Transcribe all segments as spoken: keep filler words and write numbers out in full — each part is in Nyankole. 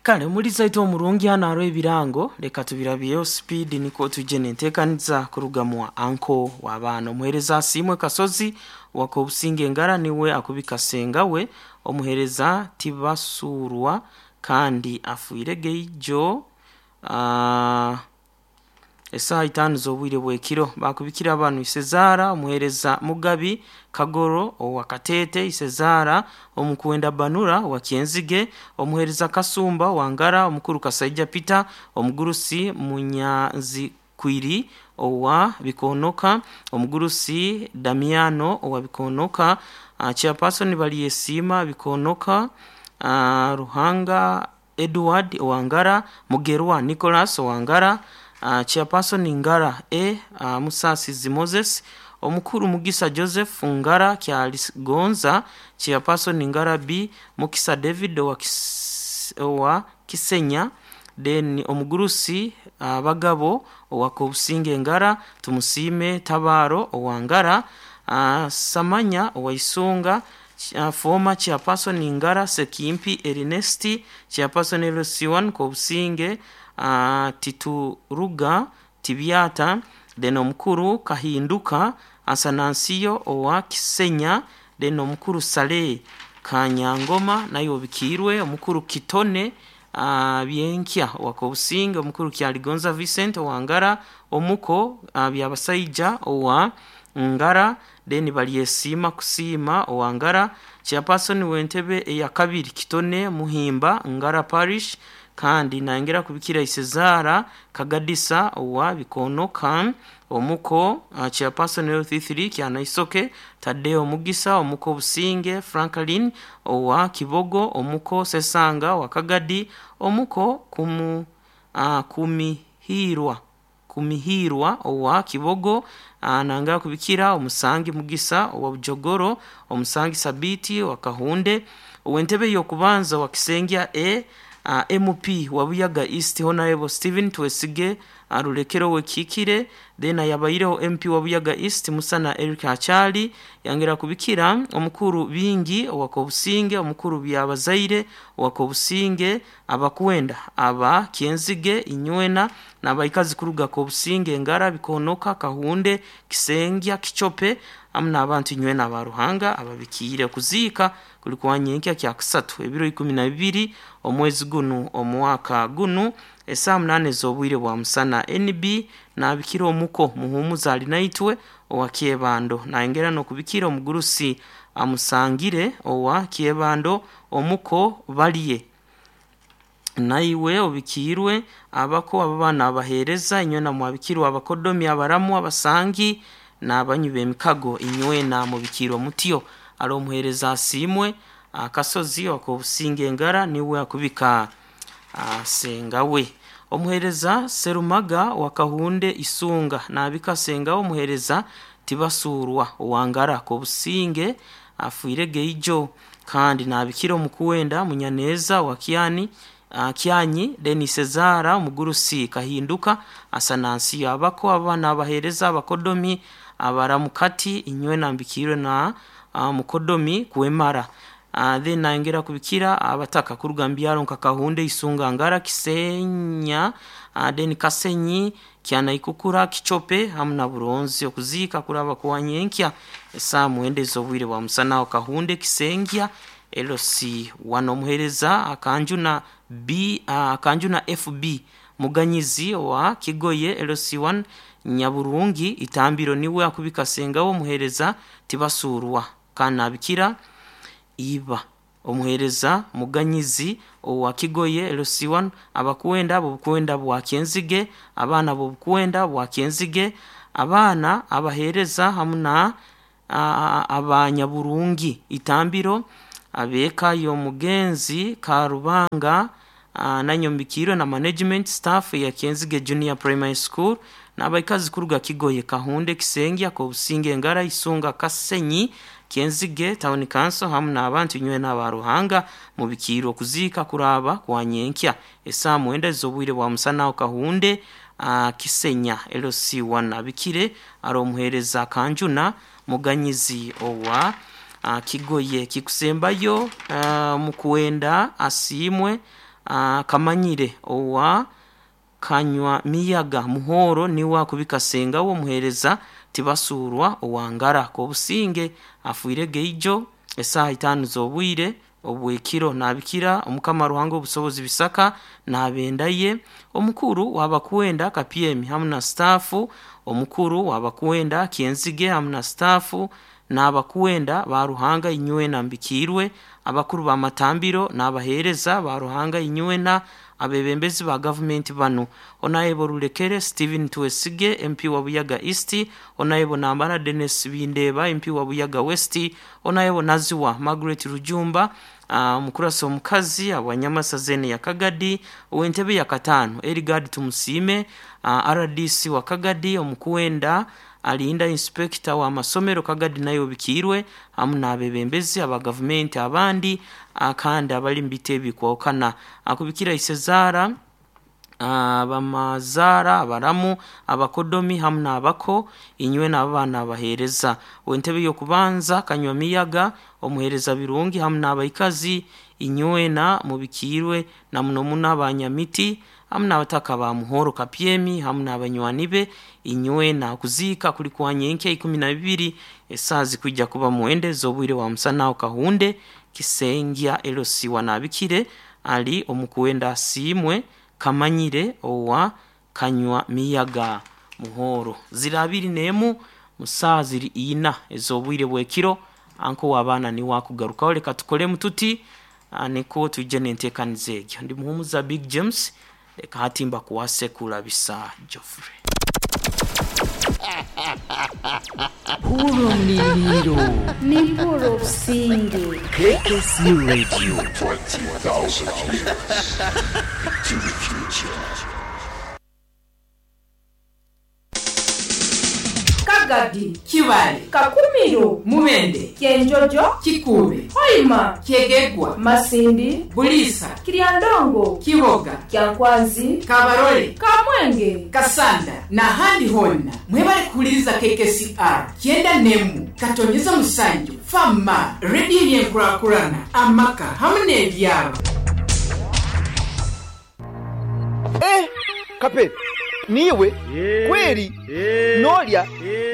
Kale omuliza itwe omurungi hano hariho ebirango, leka tubirabyeho sipiidi nikwo twije nenteekaniza kuruga mwa anko w'abaana. Omuheereza Asiimwe Kasozi wa Kobusinge Engara niwe akubika senga we. Omuheereza Tibasurwa kandi afiire geijo ah, esaaha itaano z'obwire bw'ekiro. Bakubikira banu: Isezaara omuheereza Mugabi Kagoro owa Kateete, Isezaara omukwenda Banura owa Kyenzige, omuheereza Kasumba owa Ngara, omukuru Kasaija Peter, omugurusi Munyanzikwiri owa Bikonoka, omugurusi Damiano owa Bikonoka, uh, chairperson Baliyesiima Bikonoka, uh, Ruhanga Edward owa Ngara, Mugerwa Nicholas owa Ngara, uh, chairperson Ngara A, uh, Musasizi Moses, omukuru Mugisa Joseph Ngara Kyaligonza, chairperson Ngara B, Mukisa David owa, Kis, owa Kisenya, then omugurusi uh, Bagabo owa Kobusinge Ngara, Tumusiime Tabaro owa Ngara, uh, Samanya owa Isunga, uh, former chairperson Ngara Sekimpi Ernesti, chairperson L C one Kobusinge, uh, Tituruga Tibyata, then omukuru Kahinduka Asanansiyo owa Kisenya, then omukuru Saleh Kanyangoma naye obikiirwe, omukuru Kitone uh, Byenkya owa Kobusinge, omukuru Kyaligonza Vincent owa Ngara, omuko uh, Byabasaija owa Ngara, then Balyesiima Kusiima owa Ngara, chairperson w'entebe eya kabiri Kitone Muhimba Ngara Parish, kandi nayongera kubikira Isezaara Kagadisa owa Bikonoka, omuko uh, chairperson L C three Kyanaisoke Tadeo Mugisa, omuko Businge Franklin owa Kibogo, omuko Sesanga owa Kagadi, omuko kumu uh, Kumihirwa Kumihirwa owa Kibogo, uh, nangera kubikira Omusangi Mugisa owa Bujogoro, Omusangi Sabiti owa Kahunde, ow'entebe y'okubanza wa Kisengya A, uh, M P wa Buyaga East Honorable Stephen Twesige Arulekero wekikire, then ayabaireho M P wa Buyaga East Musana Eric Achali, yangera kubikira omukuru Bingi owa Kobusinge, omukuru Byabazaire owa Kobusinge, abakwenda aba Kyenzige Inywena n'abaikazi kuruga Kobusinge Ngara Bikonoka Kahunde Kisengya Kichope amu n'abantu inywena aba Ruhanga ababikiire. Kuziika kuli kwa nyenkya kya kusatu ebiro ikumi na bibiri omwezi gunu omwaka gunu esaaha munaana ez'obwire bwa musana. N B nabikira omuko Muhumuza Alinaitwe owa Kyebando, nayongera n'okubikira omugurusi Amusangire owa Kyebando, omuko Balye naiwe obikiirwe. Abako abo baana abaheereza inywena mwabikirwa, abakodomi, abaramu, abasangi n'abanywi b'emikago inywena mubikiirwe mutyo. Ali omuheereza Asiimwe Akasozi Okobusinge Engara niwe akubika sengawe. Omuheereza Serumaga wa Kahunde Isunga nabika sengawe. Omuheereza Tibasurwa owa Ngara Kobusinge afiire geijo, kandi nabikira omukuwenda Munyaneza wa Kyani uh, Kyanyi, then Sezara omugurusi Kahinduka Asanansiyo. Abako abaana abaheereza abakodomi abaramukati inywena mbikirwe na uh, mukodomi kwemara. Uh, then nayongera kubikira abataka kuruga mbyaro nka Kahunde Isunga Ngara Kisenya, uh, then Kasenyi Kyanaikukura Kichope hamu na Buronzi. Okuziika kuraba kwa nyenkya esaaha mwenda ez'obwire bwa musana Kahunde Kisengya L C one. Omuheereza Akanjuna B, uh, Akanjuna F B Muganyizi wa Kigoye L C one Nyaburungi Itambiro niwe akubika sengawo. Omuheereza Tibasurwa kanabikira iba. Omuheereza Muganyizi owa Kigoye L C one, abakwenda b'obukwenda bwa Kyenzige, abaana b'obukwenda bwa Kyenzige, abaana abaheereza hamu na abanyaburungi Itambiro, abeeka y'omugenzi Karubanga nanyombikirwe na management staff ya Kyenzige Junior Primary School, n'abaikazi kuruga Kigoye Kahunde Kisengya Kobusinge Ngara Isunga Kasenyi Kyenzige Town Council hamu n'abantu inywena aba Ruhanga mubikiirwe. Okuziika kuraba kwa nyenkya esaaha mwenda ez'obwire bwa musana Kahunde uh, Kisenya L C one. Abikire ari omuheereza Kanjuna Muganyizi owa uh, Kigoye. Kikusembayo uh, Mukwenda Asiimwe uh, Kamanyire owa Kanywa Miyaga Muhoro niwe akubika senga wo muhereza Tibasurwa owangara Kobusinge afuire geijo esaha itano z'obwire obwekiro. Nabikira Omukama Ruhanga obusobozi bisaka nabendaye omukuru wabakwenda Kapyemi hamu na stafu, omukuru wabakwenda Kienzige hamu na stafu, n'abakwenda ba Ruhanga inywena mbikirwe, abakuru ba matambiro n'abahereza ba Ruhanga inywena, abebembezi ba gavumenti bano: Onayebo Rulekere Steven Twesige, M P wa Buyaga East, Onayebo Nambara Dennis Bindeba, M P wa Buyaga West, Onayebo Naziwa Margaret Rujumba, omukurasi uh, omukazi abanyamasa zene ya Kagadi, ow'entebe ya katano Erigard Tumusime, uh, R D C wa Kagadi, omukwenda Alinda, inspector wa masomero Kagadi nayo bikirwe, hamu n'abebembezi aba gavumenti abandi kandi abali mu bitebe bikwokana. Akubikira Isezara, abamazara, abaramu, abakodomi hamu n'abako inywe n'abaana abahereza, wentebe y'okubanza Kanywa Miyaga, omuhereza Birungi hamu n'abaikazi inywena mubikirwe, na muno muno abanyamiti hamu n'abataka ba Muhoro Kapyemi hamu n'abanywani be inywena. Kuziika kuli kwa nyenkya ikumi na bibiri, esaa zikwijja kuba mwende z'obwire wa musana Kahunde Kisengya Elosiwa. Nabikire ali Omukwenda Asiimwe Kamanyire owa Kanywa Miyaga Muhoro. Ziri abiri n'emu musaa ziri ina ez'obwire bwekiro, anko w'abaana niwe akugarukaho. Reka tukolemu tuti niko tujje n'enteekaniza egyo. Ndi Muhumuza Big James, reka hati mbakuwase kulabisa Geoffrey. Hurumniriro. Nimpuro Businge. K K C Radio. twenty thousand years to the future. Kagadi, Kibale, Kakumiro, Mubende, Kyenjojo, Kikuube, Hoima, Kyegegwa, Masindi, Bulisa, Kiryandongo, Kiboga, Kyankwanzi, Kabarole, Kamwenge, Kasanda n'ahandi honna mwebale kuhuliriza K K C R kyenda nemu katonyeza musanju fama rediyo yenkulakulana amaka hamu n'ebyalo. Eh, Kape, niwe kweri nolya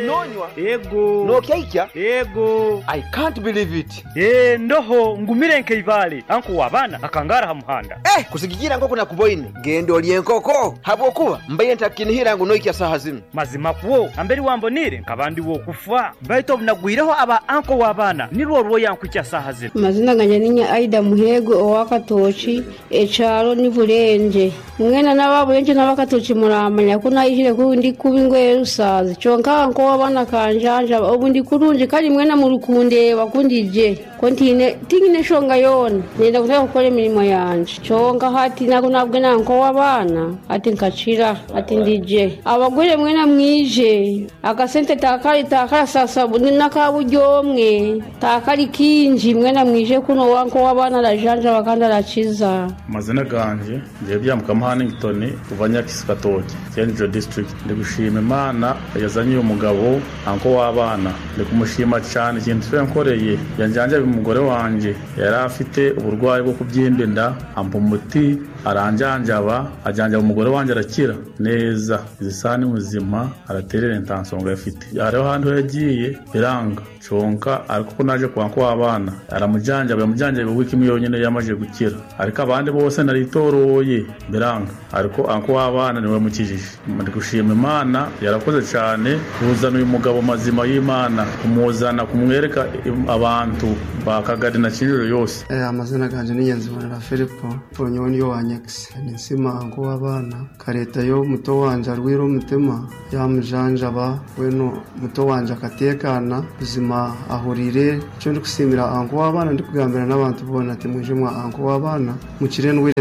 nonywa Ego. Nokyaikya? Ego. I can't believe it. Eh, ndoho ngumire nkeivale anko wabana akangara ha muhanda. Eh, kusigikira nkoko nakuboine, genda olye enkoko habwokuba mbaire ntakinihira ngu noikya saha zinu. Mazima kwo amberi wambonire nkabandi wokufa, baitu obunagwireho aba anko wabana nirwo rwoyankwikya saha zino. Amazina ganje ninya Aida Muhego owakatoki, ekyalo ni Bulenje. Mwena n'ababulenje n'abakatoki muramanya ko nayihire ku ndi kuba ingoye rusazi, kyonka nko wabana kanjanja obu ndi kurungi, kandi mwena murukundeba kundije ko ntine tingine shonga yona, nenda kutaka kukora emirimo yanje, kyonka hati nako nabwe nanko wabana ati nkakira ati ndije. Abagore mwena mwije akasente takali takala sasa nakaburyomwe takali kinji, mwena mwije kuno wanko wabana arajanja bakandi arakiza. Amazina ganje ngiye Byamukama Hannington kuva Nyakisi Katoki, Kyenjo District. Ndi gushima Imana yazanye uyu mugabo anko w'abana, ndi kumushima cyane ikintu cyo yankoreye. Yanjanja umugore wanje yari afite uburwayi bwo kubyimba inda, ampa umuti aranjanjaba, ajanjaba umugore wanje arakira neza. Izi saha ni muzima, araterera intansonga afite. Hariho ahantu yagiye biranga conka, ariko ko naje kwa anko w'abana aramujanjaba, yamujanjaba wiki imwe yonyine yamaze gukira, ariko abandi bose naritoroye biranga, ariko anko w'abana niwe mukijije. Ndi gushima Imana yarakoze cyane kuzana uyu mugabo mazima y'Imana, kumuzana kumwereka abantu ba Kagari na Kinjiro yose. Eh, amazina ganje ni Nyanzibonera Filipo ponyo niyo wa Nyakisi ninsima anko w'abana kareta yo muto wanje arwira umutima, yamujanjaba weno muto wanje akatekana buzima ahurire. Cyo ndi kusimira anko w'abana, ndi kugambira n'abantu bona ati mwije mwa anko w'abana mukire ndwire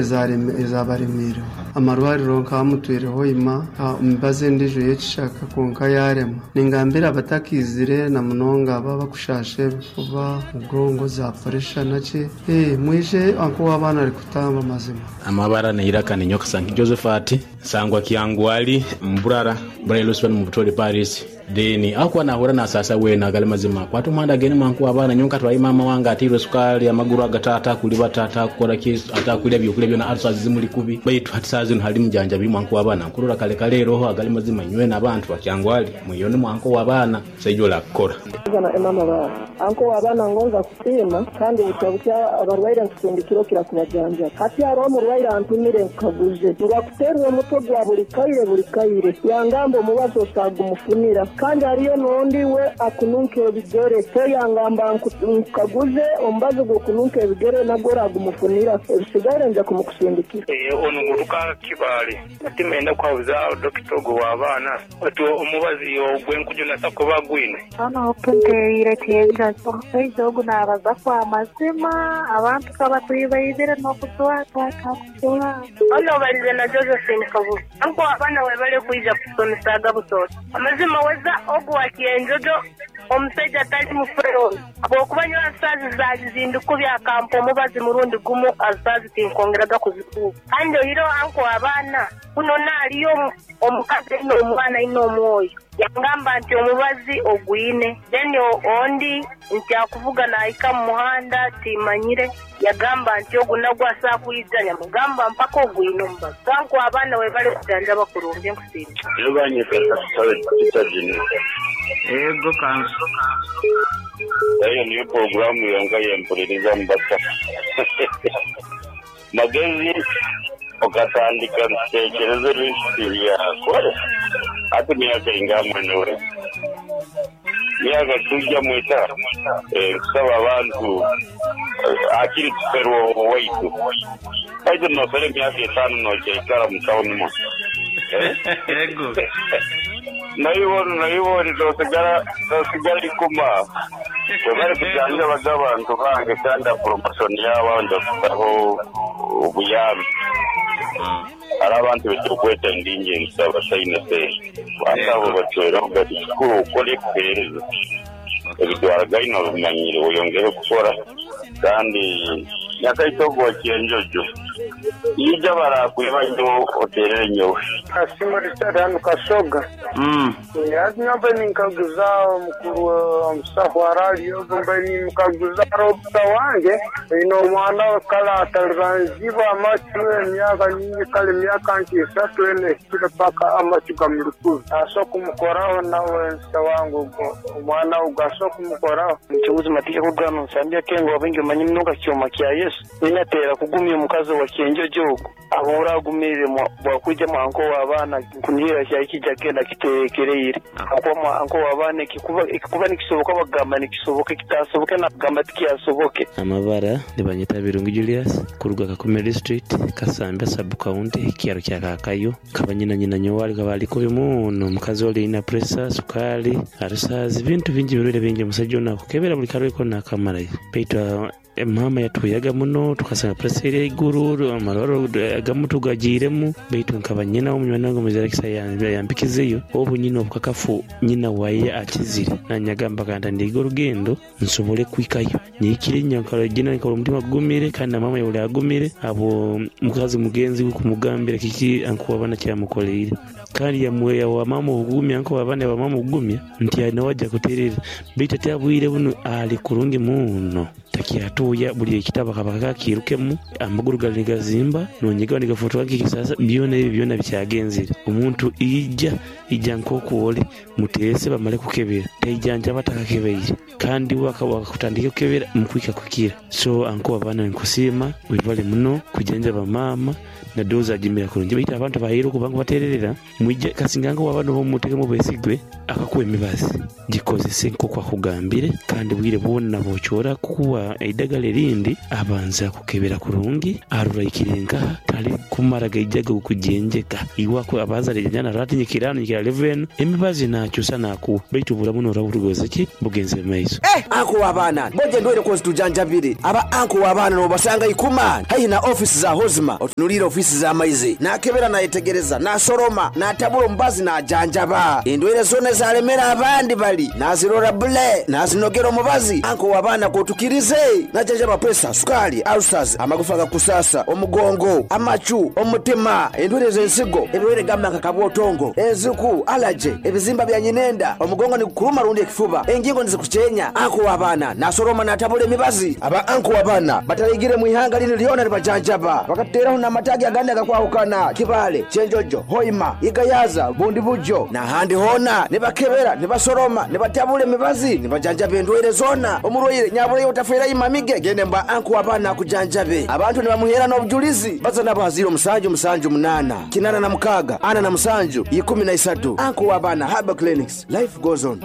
ezabaremire amarwariro nkamutwireho ima mbaze ndijo yekishaka konka yarema. Ningambira abatakizire na munonga aba bakushashe kuba mugongo za pressure naki, eh mwije anko w'abana ari kutamba mazima. Amabara neiraka ni Nyoka Sanki Josephat, Sangwa Kiangwali, Mburara Burailuswan mu Butoli Paris. Then akuwa nahura nasasa wena agali mazima kwata omuhanda agende mwanku abaana nyonka twayi mama wange atirwe sukali amaguru agatata kuli batata kukora ki atakulya byokulya byona ulcers zimuli kubi baitu hati saa zino hali mujanjabi mwanku w'abaana nkurora kale kale roho agali mazima nywe n'abantu bakyangwali mwiyone mwanku w'abaana saijola kukora na emama bawe anko w'abaana ngonza kusiima kandi butya abarwaire nkusindikira okira kubajanja hati hariho omurwaire antumire nkaguze ngakuterwa omutwe gwa buli kaire buli kaire yangamba omubazi osagumufunira kandi hariyo n'ondi we akununka ebigere so yangamba nkaguze omubazi gw'okununka ebigere nagwo oragumufunira ebisigaire nja kumukusindikira ono nguruka kibale timenda kwabuza dokita ogwo w'abaana ati omubazi ogwenkujuna sakuba gwine hano openteire tiyenja omushaija ogu naabaza kwa mazima abantu kabatwibaizire n'okutwatwatakutura ono balize na Josephine Kabuga anko abaana webale kwija kusomesaga butoto amazima weza ogu wakienjojo omusajja atali mufero habwokuba nyowe asaazi zaazizindukubya akampa omubazi murundi gumu azaazi tinkongeraga kuzikuba kandi oiro anko abaana kuno naaliyo omukazi ino omwana ino omwoyo yangamba nti omubazi ogwine then ondi nti akuvuga naika mu muhanda timanyire yagamba nti ogu nagwo asaakwiza nyamugamba mpaka ogwine omubazi kanko abaana webale kujanja bakurungi nkusiima ego kanso eyo niyo programu yonka yempuliriza mbata magezi okatandika ntekereza ebintu byakore ati myaka inga mwene myaka tujja mwita kusaba abantu akiri tuferwa waitu aite nofere myaka etano nochaikara mutauni mo ego nayibona nayibona tosigara tosigara ikuma bari kujanja baga abantu bange kandi promotion yabo ndakusaho obuyambi hari abantu betukweta ndinje nsaba sayina se batabo batwera gati kikuru ukore kuhereza ebitwara gaino bimanyire oyongere kukora kandi nyakaitogo kyenjojo ija barakwiba nyo oterere nyowe Kasimo Richard hano Kasoga mm yazi ninkaguza omukuru omusaho araliyo mbe ninkaguza robota wange ino omwana kale ataliranzibwa amacu emyaka nyingi kale emyaka nti esatu ene ehikire paka amacu gamurikubi aso kumukoraho nawe nsa wange omwana ogu aso kumukoraho Mchunguzi matika kugano nsambya kengo wabingi manyi mnoka kyoma kya Yesu ninatera kugumya omukazi wa kyenjojo ogu abura agumire bwakwija mwanko w'abaana nkunihira kyakijja genda kiteekereire akuba mwanko w'abaana ekikuba ekikuba nikisoboka bagamba nikisoboka ekitasoboke nagamba tikyasoboke Amabara nibanyeta Birungi Julius kuruga Kakumiro district Kasambya sub county kyaro kya Kakayo kaba nyina nyina nyowali kaba aliko bimuno omukazi oli ina pressure sukali arusazi bintu bingi birwire bingi omusajja ono akukebera buli kalweko nakamalayo baitu mama yatuyaga muno tukasanga pressure eri eiguru amarwaro agamu tugagiiremu baitu nkaba nyina omunywani wange omuzarakisa yampikizeyo obu nyina obukakafu nyina waye akizire nanyagamba kanda ndiga orugendo nsobole kwikayo nyikire nyankalo gina nkaba omutima gugumire kandi na mama yabuli agumire abo mukazi mugenzi we kumugambira kiki ankuwabana kyamukoleire kandi yamuweya wa mama obugumya nko abana ba mama obugumya nti nawe ajja kuterera baitu ate abwire buno ali kurungi muno takyatuuya buli ekitabo kaba kakirukemu amaguru gali nigazimba nonyigaho nigafotoka nk'ekisasa byona ebyo byona bikyagenzire omuntu ija ija nk'okwoli muteese bamale kukebera taijanja batakakebeyire kandi wakutandika kukebera mukwika kukira so anko abaana nkusiima webale muno kujanja bamaama nadoza ajimira kurungi baitu abantu bahire okubanga batererera mwije kasinganga wabana bomutekemu besigwe akakuwa emibazi gikozese nk'oku akugambire kandi bwire bwona bokyora kukuwa eidagala erindi abanza kukebera kurungi aruraikire nkaha tali kumara gaijaga kujenjeka iwako abanza rejana ratinyikira nyikira level emibazi nakyusa nakuwa baitu bulamu noraburugoza ki bugenze maiso eh anko w'abaana boje ndwere kozi tujanjabire aba anko w'abaana nobasanga ikuma haihi na ofisi za Hozima otunulire ofisi za maizi nakebera nayetegereza nasoroma natabula omubazi najanjaba endwere zona zalemera abandi bali nazirora bule nazinogera omubazi anko w'abaana kotukirize najanjaba pressure sukali ulcers amagufa gakusasa omugongo amachu omutima endwere z'ensigo ebirwere gamba nka kabwotongo enziku Empuku, alaje, ebizimba bya nyinenda, omugongo nigukuruma rundi ekifuba, engingo nizikuchenya. Anko w'abaana nasoroma natabula emibazi. Aba anko w'abaana bataligire mu ihanga lino lyona libajanjaba, bakatuteraho n'amatagi agandi agakwahukana: Kibale, Kyenjojo, Hoima, Igayaza, Bundi Bujo n'ahandi hona. Nibakebera, nibasoroma, nibatabula emibazi, nibajanjaba endwaire zona. Omurwaire nyabuleyo otafeera imamige, gende mbwa anko w'abaana akujanjabe. Abantu nibamuhera n'obujulizi baza nabo haziro musanju musanju munana kinana na mukaga ana na musanju ikumi na isatu. Anko w'abaana Herbal Clinics, life goes on.